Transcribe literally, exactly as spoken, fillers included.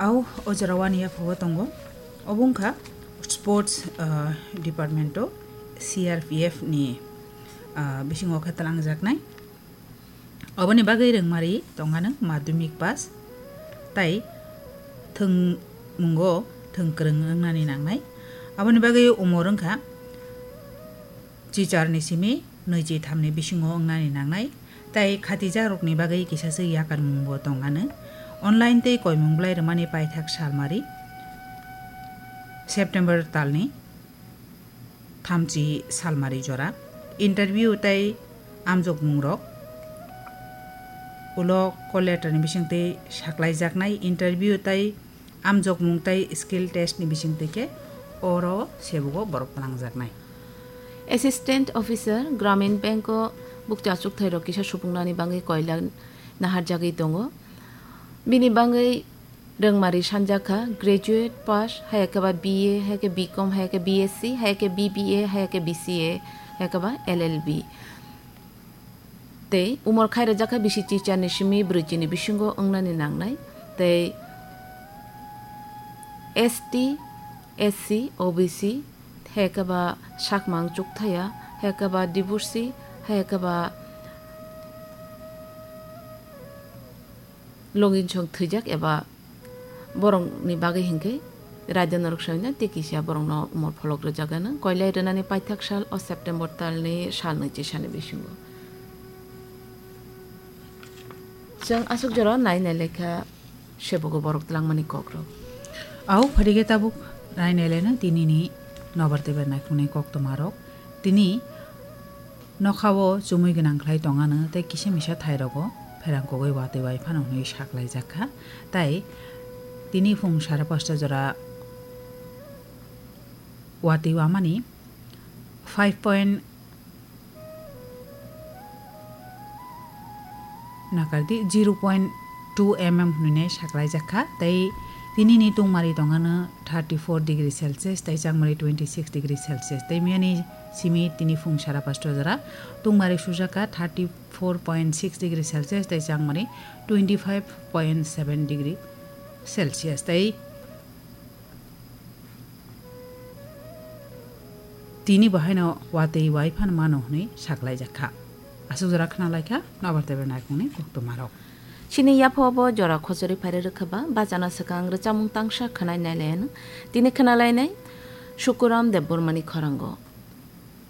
Au o jora wani yaphugo tongo. Obo wngkha sports, ah, department o C R P F ni, ah, bisingo khe twlangjaknai. Oboni bagwi rwngmari tongano madhyamik pass tai thwngmungo thwngkwrwng wngnani nangnai. Aboni bagwi umor wngkha chichar ni simi nwichi thamni bisingo wngnani nangnai, tai khatijakrokni bagwi kisa se yakarmungbo tong ano. Online tei koimung bwlai rwmani paithak salmari September talni thamchi salmari jora. Interview tei amjokmungrok ulo call letter ni bisingtwi saklaijaknai. Interview tei amjokmung tei skill test ni bisingtwi khe oro sebugo borok twlangjaknai. Assistant Officer Gramin Bank o bukcha achukthai rok kisa supungnani bagwi koila naharjagwi tongo. Bini bagwi rwngmari sanjakha graduate pass, hai khe ba B A, hai khe B Com, hai khe B S C, hai khe B B A, hai khe B C A, hai khe ba L L B. Tei umor khai rwjakha bisi chichar ni simi brwichi ni bisingo wngnani nangnai. Tei S T, S C, O B C, hai khe ba sakmang chukthaya, hai khe ba divorcee, hai khe ba longinsong thwijak eba borokni bagwi hinkhe raida norok soina tei kisa borokno umor pholok rwjak gana koilai rwnani paithak sal o September talni sal nwichi sani bisingo. Chwng aswk jora nai nai lekha sebogo borok twlangmani kokrok. Au phadige tabuk nai nai leno tinini nobar tei bai naikhungni koktwmarok. Tini nokhao chumui gwnang khlai tongano tei kisa misa thairogo pherang kogwi watwi bai phano hwnwi saklaijak kha. Tai tini phung sara pasta jora watwi wamani five point nakardi zero point two M M hwnwi saklaijak kha. Tei tinini tungmari tongano thirty four degree Celsius tei changmari twenty six degree Celsius. Tei miyani simi tini phung sara pasta jora tungmari sujak kha thirty four point six degree Celsius tei changmari twenty five point seven degree Celsius. Tei tini bo haino watwi wai phano mano hwnwi saklaijak kha. Aswk jora khna lai kha nobar tei bai naikhungni koktwmarok. Chini yapha bo jora khochori phairwi rwkha ba bachana swkang rwchapmung tangsa khwnai nai lai ano. Tini khna lainai Sukuram Debbarmani khorango.